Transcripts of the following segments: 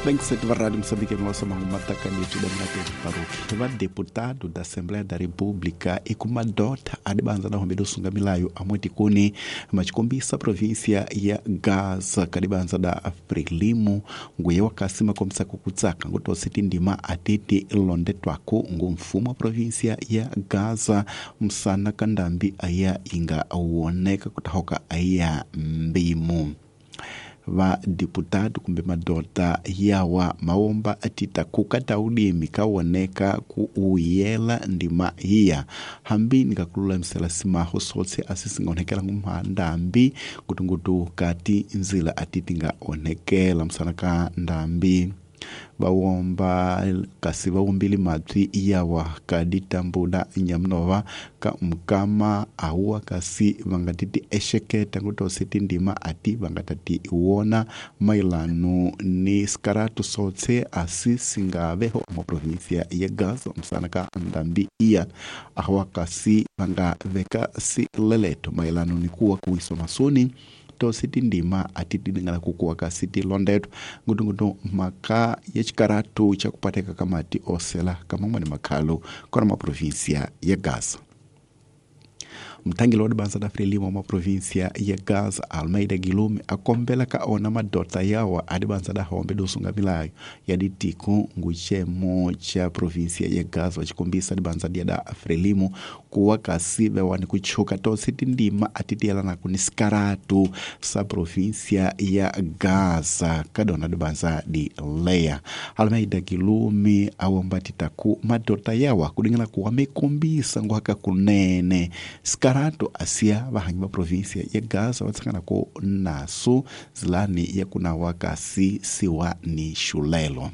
27 va Rádio Moçambique nossa matakaneti da Baruch. Va deputado da Assembleia da República e kumadota adibanza na hombe dosunga milayo amweti kuni machikombisa província ya Gaza kadibanza da Frelimo nguye wakasima komisa kukutsaka ngutositi ndima atiti londe twako ngu mfumo wa província ya Gaza msana kandambi aya inga woneka kutahoka aya mbimu va deputado kumbe madota yawa maomba atita kukata ulimi kawoneka ku uyela ndima iya hambi nikakululamisela simaho sotse asisingaonekela ngumhandambi ngutungutu kati nzila atiti ngaonekela msana ka ndambi vawomba kasi vawumbile mabyi yawa kaditambula nyamunova ka mukama awa kasi vangatiti exeketa ngutosi tindima ati vangatati wona mailano ni sikaratu sotse asi singaveho muprovinsia ya Gaza msana ka ndambi iya awa kasi vangaveka sileleto mailano ni kuwa kuwiswa masoni tosi tindima atitidingala kukuwa kasi tilondetwa ngutungutu maka ya chikaratu chakupateka kamati osela kamamwe ni makhalo kona maprovinsia ya Gaza. Mthangeli wa dibanza da Frelimo wa província ya Gaza Almeida Guilherme akombela ka ona madota yawa adibanza da hombe dosunga milayo ya ditiko nguchemo cha província ya Gaza wachikombisa dibanza dia da Frelimo kuwa kasi vewani kuchuka tosi tindima atitiyelana kuni sikaratu sa província ya Gaza kadona dibanza di Leia. Almeida Guilherme awomba titaku madota yawa kudingana kuwa mikombisa nguhaka kunene sikarato asia vahanyi va província ya Gaza vatsangana naso zilani ya kunawa kasi siwa ni xulelo.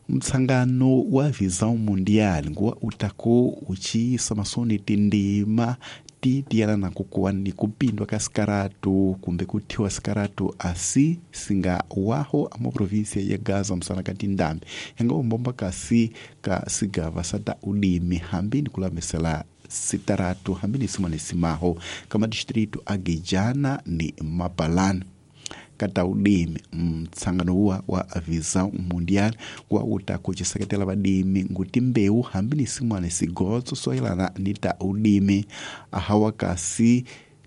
Mtsangano wa Visão Mundial nguwa utako uchiisa masoni tindima titiyelana kukuwa ni kupindwa ka sikaratu kumbe kuthiwa sikaratu asi singa waho ama província ya Gaza msana ka tindambi yanga umbomba kasi ka sigava sa ta ulimi hambi ni kulamisela sitaratu hambi ni simone simaho kama distrito agijana ni Mapalana kata ulimi. Mtsangano uwa wa Visão Mundial wa utakuchiseketela vadimi nguti mbeu hambi ni simwane sigotso soyelana ni ta ulimi ahawa kasi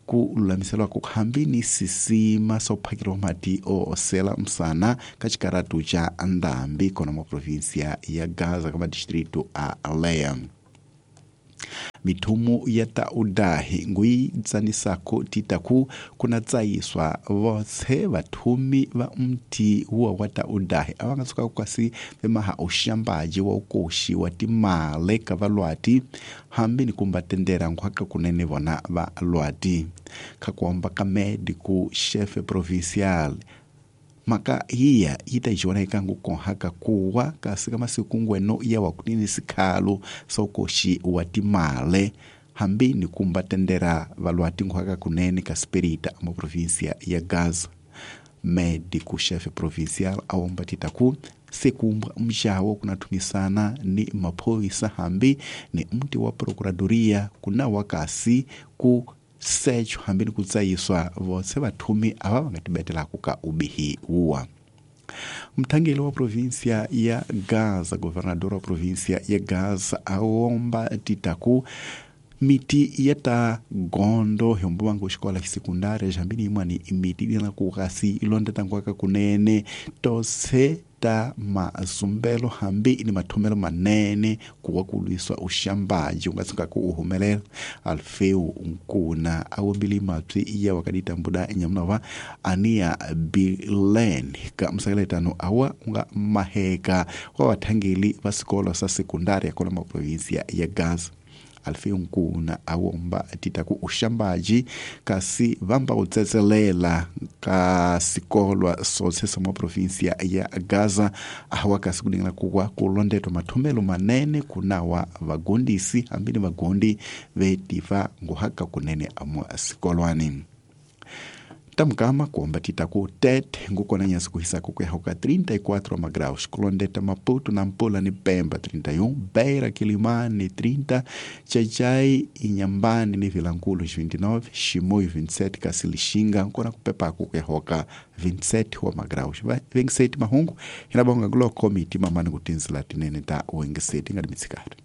kululamiselwa hambi ni sisima sophakeliwa mati oosela msana ka xikaratu xa ndambi kona mwa província ya Gaza kama distrito a Leia. Mithumu ya ta udahi nguyitsanisako titaku kuna tsayiswa votse vathumi va mti wa wa ta udahi a va nga tshuka kasi vemaha uxambaji wa ukoxi wa timale ka valwati hambi ni kumba tendera nkhwaka kunene vona va lwati kha kuomba ka medico chefe provincial maka hiya yi ta jona eka ngukonhaka kuwa kasi ka masiku ngweno ya wa kunini sikhalo sokoxi wa timale hambi ni kumba tendera valwati nkhwaka kunene ka spirita ama província ya Gaza. Medico chefe provincial awomba titaku sekumbwa mxawo kunathumisana ni maphorisa hambi ni mti wa procuradoria kuna wakasi ku secho hambi ni kutsayiswa votse vathumi ava va nga tibetelaku ka ubihi uwa. Mthangeli wa província ya Gaza, governador wa província ya Gaza awomba titaku miti ya ta gondo hiombo vangu xikola xsekundari xambini yin'wani miti lina ku kasi ilonda tanguaka kunene tose ta mazumbelo hambi ni mathomelo manene kuwa ku lwiswa uxambaji u nga tshukaku u humelela. Alfeu Nkuna awombile mabyi ya wakaditambuda nyamunova ania Bilen ka msekeletano awa unga maheka wa vathangeli va swikolo swa sekundari ya kona maprovinsia ya Gaza. Alfeu Nkuna awomba titaku uxambaji kasi vamba utsetselela ka sikolwa sotse sa maprovinsia ya Gaza awa kasi kudingana kuwa kulondetwa mathomelo manene kunawa vagondisi hambi ni vagondi vetiva nguhaka kunene amwa sikolwani. Tamukama kuomba titaku Tete ngukona nyasi kuhisako kuyahoka 34 magraus, Kulondeta, Maputo, Nampula ni Pemba 31, Beira, Quilimane 30, Chachai, Inhambane ni Vilankulo 29, Chimoio 27, Cacilixinga nkona kupepako kuyahoka 27 wa magraus. 27 mahungu inabonga ngulo komiti mamani kutinzila tinene ta wengeseti ngati mitsikari.